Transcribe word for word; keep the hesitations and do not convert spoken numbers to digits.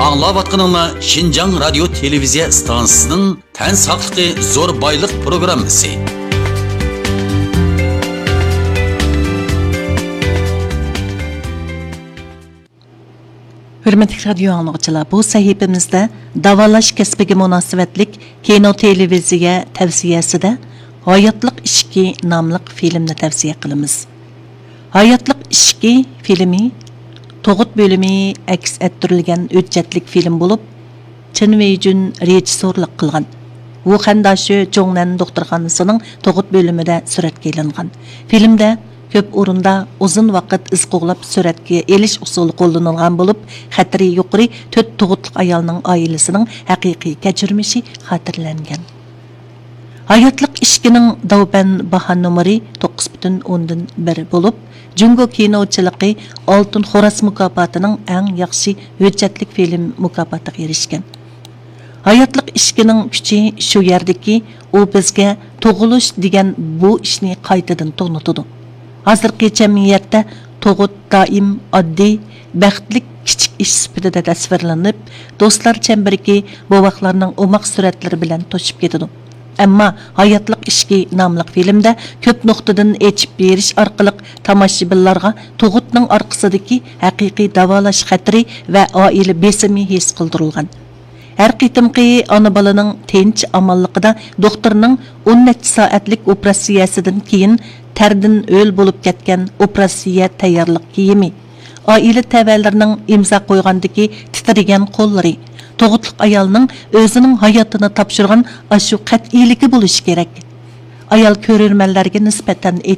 ئاڭلاۋاتقىنىڭلار شىنجاڭ رادىيو تېلېۋىزىيە ئىستانسىسىنىڭ تەن ساقلىقى زور بايلىق پروگراممىسى. ھۆرمەتلىك رادىيو ئاڭلىغۇچىلار، بۇ سەھىپىمىزدە داۋالاش كەسپىگە مۇناسىۋەتلىك كىنو تېلېۋىزىيە تەۋسىيەسىدە ھاياتلىق ئىشىكى ناملىق فىلىمنى تەۋسىيە قىلىمىز. ھاياتلىق ئىشىكى فىلىمى تۇغۇت بۆلۈمى ئەكس ئەتتۈرۈلگەن ھۆججەتلىك فىلىم بولۇپ، چېن ۋېيجۈن رېژىسسورلۇق قىلغان. ۋۇخەن داشۆ جوڭنەن دوختۇرخانىسىنىڭ تۇغۇت بۆلۈمىدە سۈرەتكە ئېلىنغان. فىلىمدە كۆپ ئورۇندا ئۇزۇن ۋاقىت ئىز قوغلاپ سۈرەتكە ئېلىش ئۇسۇلى قوللىنىلغان بولۇپ، خەتىرى يۇقىرى تۆت تۇغۇتلۇق ئايالنىڭ ئائىلىسىنىڭ ھەقىقىي كەچۈرمىشى خاتىرىلەنگەن. ھاياتلىق ئىشىكىنىڭ داۋبەن باھا نومۇرى توققۇز پۈتۈن ئوندىن بىر بولۇپ، جۇڭگو كىنوچىلىقى ئالتۇن خوراز مۇكاپاتىنىڭ ئەڭ ياخشى ھۆججەتلىك فىلىم مۇكاپاتىغا ئېرىشكەن. ھاياتلىق ئىشىكىنىڭ كۈچى شۇ يەردىكى، ئۇ بىزگە تۇغۇلۇش دېگەن بۇ ئىشنى قايتىدىن تونۇتىدۇ. ھازىرقى جەمئىيەتتە تۇغۇت دائىم ئاددىي، بەختلىك كىچىك ئىش سۈپىتىدە تەسۋىرلىنىپ، دوستلار چەمبىرىكى، بوۋاقلارنىڭ ئوماق سۈرەتلىرى بىلەن توشۇپ كېتىدۇ. ئەمما ھاياتلىق ئىشىكى ناملىق فىلىمدە كۆپ نۇقتىدىن ئېچىپ بېرىش ئارقىلىق تاماشىبىنلارغا تۇغۇتنىڭ ئارقىسىدىكى ھەقىقىي داۋالاش خەتىرى ۋە ئائىلە بېسىمى ھېس قىلدۇرۇلغان. ھەر قېتىمقى ئانا بالىنىڭ تىنچ ئامانلىقىدا دوختۇرنىڭ ئون نەچچە سائەتلىك ئوپېراتسىيەسىدىن كېيىن تەردىن ھۆل بولۇپ كەتكەن ئوپېراتسىيە تەييارلىق كىيىمى، ئائىلە تەۋەلىرىنىڭ ئىمزا قويغاندىكى تىترىگەن قوللىرى، تۇغۇتلۇق ئايالنىڭ ئۆزىنىڭ ھاياتىنى تاپشۇرغان ئاشۇ قەتئىيلىكى بولۇشى كېرەك. ئايال كۆرۈرمەنلەرگە نىسبەتەن ئېيتقاندا،